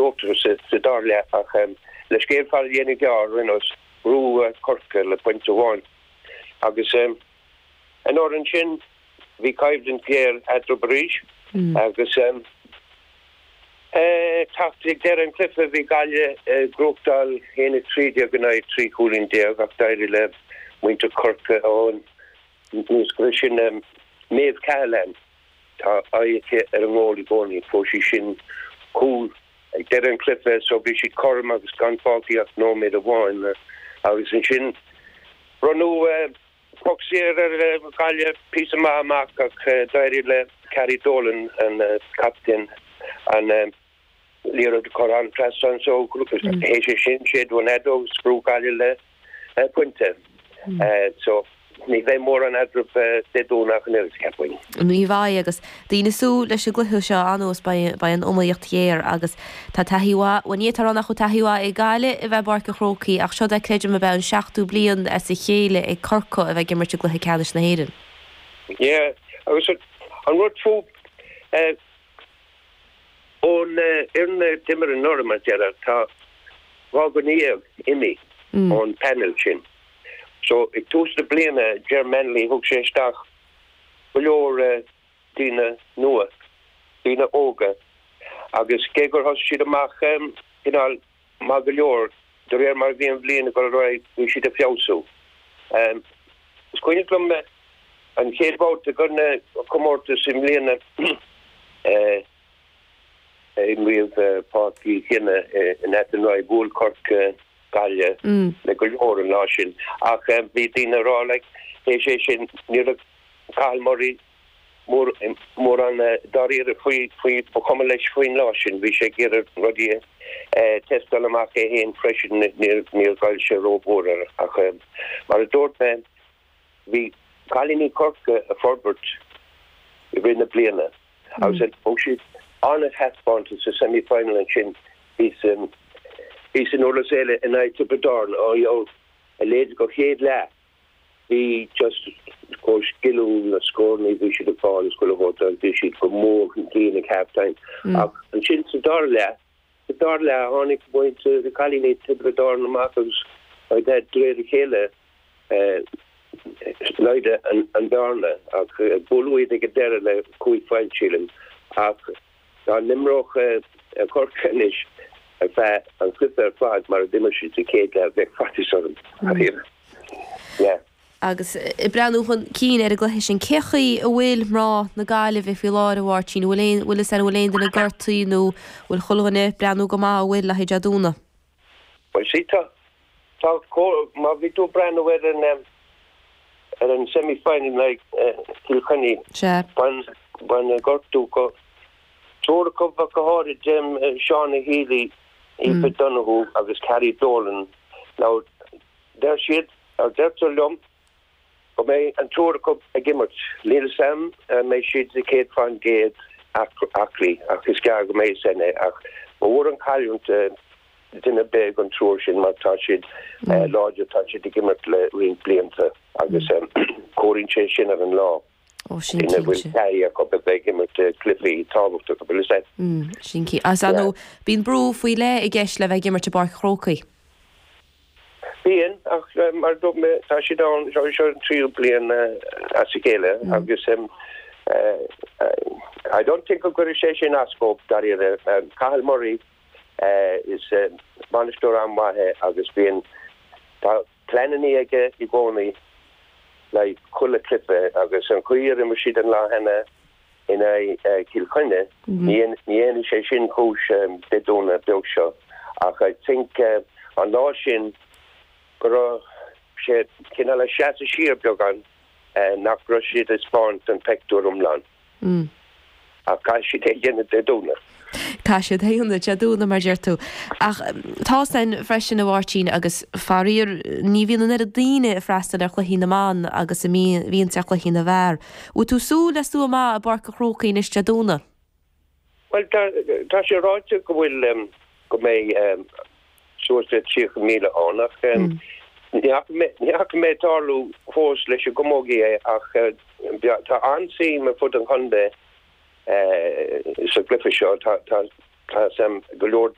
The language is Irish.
uachtar sa dara leath ach le scéal fada a dhéanamh gearr, ar aon nós, bhuaigh Corcaigh le pointe amháin agus an uair ansin bhí coimhlint ghéar eatarthu arís agus teacht ag deireadh an chluiche bhí Gaillimh ag gnóthachtáil 1-13 in aghaidh 13 chúilín ach d'éirigh le muintir Chorcaí ón níos go sin Maeve Cahalane. Tá aghaidh aici ar an ngól i gcónaí. Fuair sí sin cúl ag deireadh an chluiche so bhí siad cothrom agus gan fágtha ach nóiméad amháin agus ansin bronnadh poc saor ar Ghaillimh píosa maith amach ach d'éirigh le Carrie Dolan, an captaen, an liathróid a chur thar an trasnán so théis é sin séideadh an fheadóg agus bhuaigh Gaillimh le pointe. So ní bheidh mórán eadraibh Dé Domhnaigh an oiread, cheapfainn. Ní bheidh agus daoine ag súil leis an gcluiche seo anuas beidh an iomaíocht ghéar agus tá taithí mhaith, bhuel ní fhéadfá a rá nach bhfuil taithí mhaith ag Gaillimh a bheith i bPáirc an Chrócaigh ach seod é creidim ab ea an seachtú bliain as a chéile ag Corcaigh a bheith ag imirt i gcluiche ceannais na hÉireann. Yeah agus an rud fúb Ón fhoireann a d'imir anuraidh, mar a déarfá, tá 12 dhuine imithe ón panel sin. So, ag tús na bliana, Ger Manley, thug sé isteach go leor daoine nua, daoine óga, agus cé gur thosaigh siad amach cineál maith go leor, de réir mar a bhí an bhliain ag dul ar aghaidh, bhí siad ag feabhsú. Is cuimhin liom an chéad bhabhta den chomórtas i mbliana, imríodh i Páirc Uí Chionnaith in Athenry, bhuail Corcaigh Gaillimh le go leor an lá sin ach bhí daoine ag rá like théis é sin ní raibh Cathal Murray mórán dáiríre faoi, faoi, ba chuma leis faoin lá sin, bhí sé ag iarraidh rudaí a tástáil amach é féin freisin, níor ghoill sé rómhór air ach mar a dúirt mé, bhí cailíní Chorcaí ag forbairt i rith na bliana agus thug siad an-thaispeántas sa semi-final ansin thíos thíos in Durlas Éile in aghaidh Tiobraid Árann, ó a leithéid de chéad leath. Bhí just chomh sciliúil na scóranna bhí siad ag fáil is chuile shórt agus bhí siad go mór chun cinn ag half time. Ach ansin sa dara leath, sa dara leath tháinig muintir na cailíní Tiobraid Árann amach agus de réir a chéile laghdaigh an bhearna ach buaileadh iad ag an deireadh le cúig phointe sílim ach Dá n-imreodh Corcaigh anois ar feadh an chluiche ar fad mar a d'imir siad sa chéad leath, bheadh faitíos orm. Yeah. Agus ag breathnú chun cinn ar an gcluiche sin, cé chaoi a bhfuil mná na Gaillimhe faoi láthair, a Mháirtín? Bhfuil aon, bhfuil fhios agat an bhfuil aon duine gortaithe nó bhfuil chuile dhuine ag breathnú go maith, an bhfuil, le haghaidh Dé Domhnaigh? Bhuel, sea, tá, tá, má bhí tú ag breathnú ar an, ar an semi-final in aghaidh Chill Chainnigh, Sea. bhain, bhain gortú go triúr acu ach go háirid, Shauna Healy, Aoife Donoghue agus Carrie Dolan. Now, deir siad, or deirtear liom, go mbeidh an triúr acu ag imirt. Níl fhios a'm an mbeidh siad 100% aclaí ach is gearr go mbeidh fhios a'inn é. Ach ba mhór an chailliúint duine ar bith den triúr sin mar tá siad láidir, tá siad ag imirt le roinnt blianta agus comhaireann sé sin ar an lá. Ó, sin Duine a bhfuil cinnte. taithí acu a bheith ag imirt cluichí tábhachtacha, bhfuil fhios a'd. Sin cinnte. Agus ar ndóigh, bíonn brú faoi leith i gceist le bheith ag imirt i bPáirc an Chrócaigh. Bíonn, ach mar a dúirt mé, tá siad ann, seo seo an tríú bliain as a chéile agus I don't think go gcuirfidh sé sin as dóibh, dáiríre. Cathal Murray, is bainisteoir an-mhaith é agus bíonn, tá pleananna aige i gcónaí le haghaidh chuile chluiche agus an chaoi ar imir siad an lá cheana in aghaidh Chill Chainnigh, ní dhéanfaidh sé sin cúis Dé Domhnaigh beag seo ach I think an lá sin go raibh sé cineál ag seasamh siar beagán nach raibh siad ag 'spáint an peictiúr iomlán. Ach caithfidh siad é a dhéanamh Dé Domhnaigh. Caithfidh siad é a dhéanamh Dé Domhnaigh, mar a deir tú. Ach tá's a'inn freisin, a Mháirtín, agus faraor, ní bhíonn an oiread daoine ag freastal ar chluichí na mban agus a bhíonns ar chluichí na bhfear. Bhfuil tú ag súil le slua maith i bPáirc an Chrócaigh anois Dé Domhnaigh? Bhuel, tá sé ráite go bhfuil, go mbeidh suas le 30,000 ann ach ní fhaca mé tarlú fós leis an gcamógaí é ach tá an-suim ar fud an chontae sa gcluiche seo. Tá go leor.